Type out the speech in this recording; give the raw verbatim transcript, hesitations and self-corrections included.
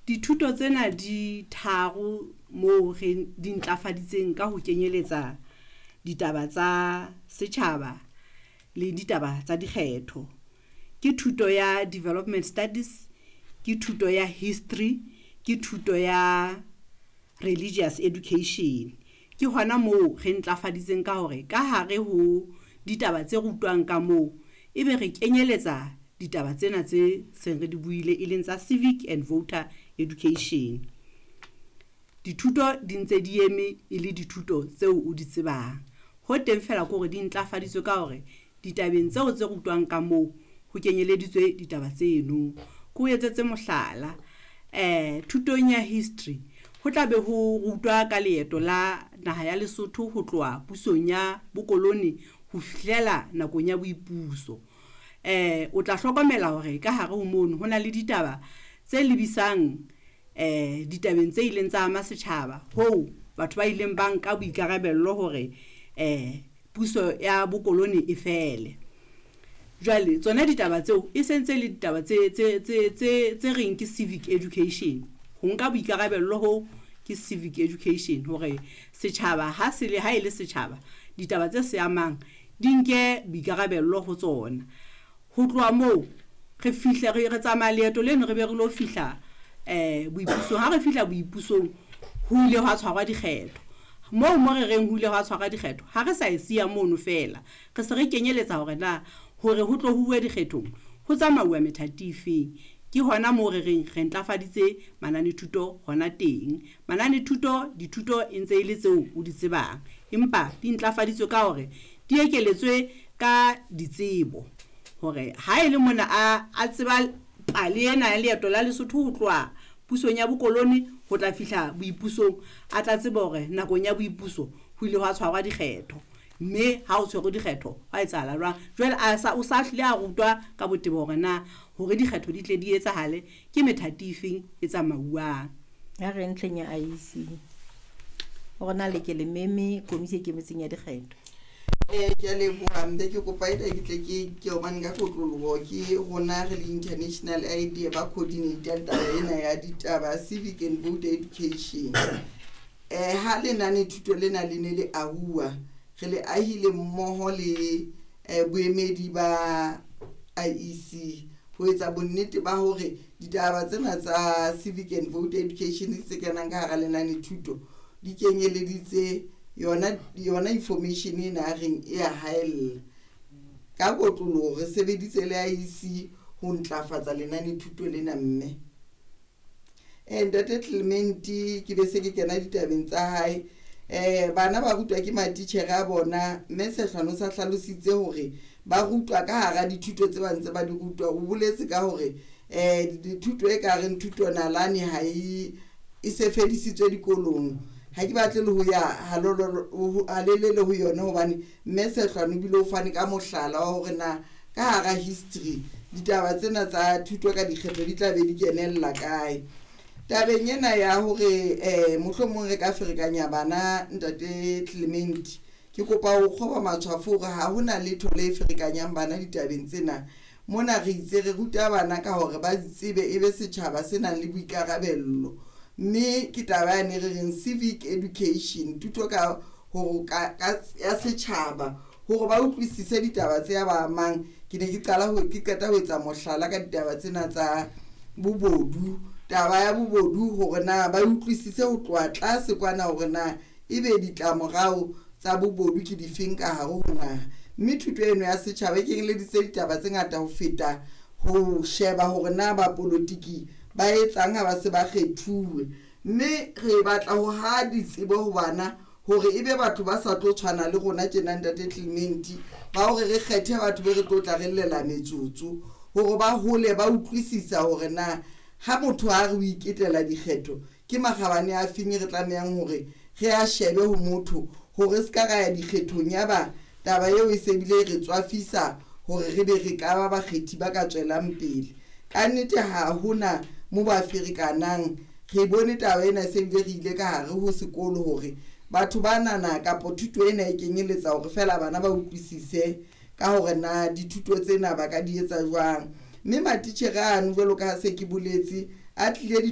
Dithuto tsena di tharo moo re di ntlafaditseng ka ho kenyeletsa ditaba tsa setjhaba le ditaba tsa dikgetho. Ke thuto ya Development Studies, ke thuto ya History, ke thuto ya Religious Education. Ke hona moo re ntlafaditseng ka hore ka hare ho ditaba tse rutwang ka moo, ebe re kenyeletsa ditaba tsena tse seng re di buile e leng tsa Civic and Voter Education. Dithuto di ntse di eme e le dithuto tseo o di tsebang. Ho teng fela ke hore di ntlafaditswe ka hore ditabeng tseo tse rutwang ka moo ho kenyeleditswe ditaba tseno. Ke o etsetse mohlala, eh thutong ya history ho tla be ho rutwa ka leeto la naha ya Lesotho ho tloha pusong ya bokolone ho fihlela nakong ya boipuso. Eh o tla hlokomela hore ka hare ho mono ho na le ditaba tse lebisang eh ditabeng tse ileng tsa ama setjhaba hoo batho ba ileng ba nka boikarabello hore eh puso ya bokolone e fele. Jwale tsona ditaba tseo e sentse le ditaba tse tse tse tse tse reng ke civic education. Ho nka boikarabello ho ke civic education hore setjhaba ha se le ha e le setjhaba ditaba tse se amang di nke boikarabello ho tsona. Ho tloha moo re fihle re re tsamaya leeto leno re be re lo fihla eh boipusong. Ha re fihla boipusong ho ile hwa tshwarwa dikgetho. Moo mo re reng ho ile hwa tshwarwa dikgetho ha re sa e siya mono fela, re se re kenyeletsa hore na hore ho tlo huwe dikgethong ho tsamauwa methati e feng. Ke hona moo re reng re ntlafaditse mananethuto hona teng. Mananethuto dithuto e ntse e le tseo o di tsebang, empa di ntlafaditswe ka hore di ekeletswe ka ditsebo hore ha e le mona a a tseba pale ena ya leeto la Lesotho ho tloha pusong ya bokolone ho tla fihla boipusong, a tla tseba hore nakong ya boipuso ho ile hwa tshwarwa dikgetho, mme ha o tshwerwe dikgetho hwa etsahala jwang. Jwale a sa o sa hlile a rutwa ka botebo hore na hore dikgetho di tle di etsahale ke methati e feng e tsamauwang. Ha re ntlheng ya I E C hore na le ke le meme komisi e ikemetseng ya dikgetho. Eh ke a leboha mme ke kopa ena ke tle ke ke hobane ka kotloloho ke rona re le International I D ba coordinator taba ena ya ditaba civic and voter education. Eh ha lenane thuto lena le ne le ahuwa, re le ahile mmoho le eh, boemedi ba I E C ho etsa bonnete ba hore ditaba tsena tsa civic and voter education tse kenang ka hara lenane thuto di kenyeleditse yona yona information ena a reng e ya haella. Ka kotloloho re sebeditse le I E C ho ntlafatsa lenane thuto lena. Mme eh ntate Clement, ke be se ke kena ditabeng tsa hae. eh bana ba rutwa ke matitjhere a bona, mme Sehlano sa hlalositse hore ba rutwa ka hara dithuto tse ba ntse ba di rutwa. O boletse ka hore eh dithuto e ka reng thuto nalane ha e e se fedisitswe dikolong. Ha ke batle le ho ya halelele ho yona hobane mme Sehlano ebile o fane ka mohlala wa hore na ka hara history ditaba tsena tsa thuto ka dikgetho di tla be di kenella kae. Tabeng ena ya hore eh mohlomong re ka ferekanya bana, ntate Clement, ke kopa ho kgoba matshwafo hore ha hona letho le ferekanyang bana ditabeng tsena. Mona re itse re ruta bana ka hore ba tsebe e be setjhaba se nang le boikarabello, mme ke taba yane re reng civic education, thuto ka hore ka ya setjhaba hore ba utlwisise ditaba tse ba amang. Ke ne ke qala ho ke qeta ho etsa mohlala ka ditaba tsena tsa bobodu, taba ya bobodu, hore na ba utlwisise ho tloha tlase kwana hore na ebe ditlamorao tsa bobodu ke difeng ka hare ho naha. Mme thuto eno ya setjhaba e kenyeleditse ditaba tse ngata ho feta ho sheba hore na bapolotiki ba etsang ha ba se ba kgethuwe. Mme re batla ho ha ditsebo ho bana hore ebe batho ba sa tlo tshwana le rona tjena, ntate Clement, ba hore re kgethe batho be re tlo tla re llela metsotso, hore ba hole ba utlwisisa hore na ha motho a re o iketela dikgetho ke makgabane a feng re tlamehang hore re a shebe ho motho, hore se ka ra ya dikgethong ya ba taba eo e se bile re tswafisa hore re be re ka ba bakgethi ba ka tswelang pele. Ka nnete ha hona mo ba ferekanang. Re bone taba ena se bile re ile ka hare ho sekolo hore batho ba nana kapo thuto ena e kenyeletsa hore fela bana ba utlwisise ka hore na dithuto tsena ba ka di etsa jwang. Mme matitjhere ano, jwalo ka ha se ke boletse, a tlile.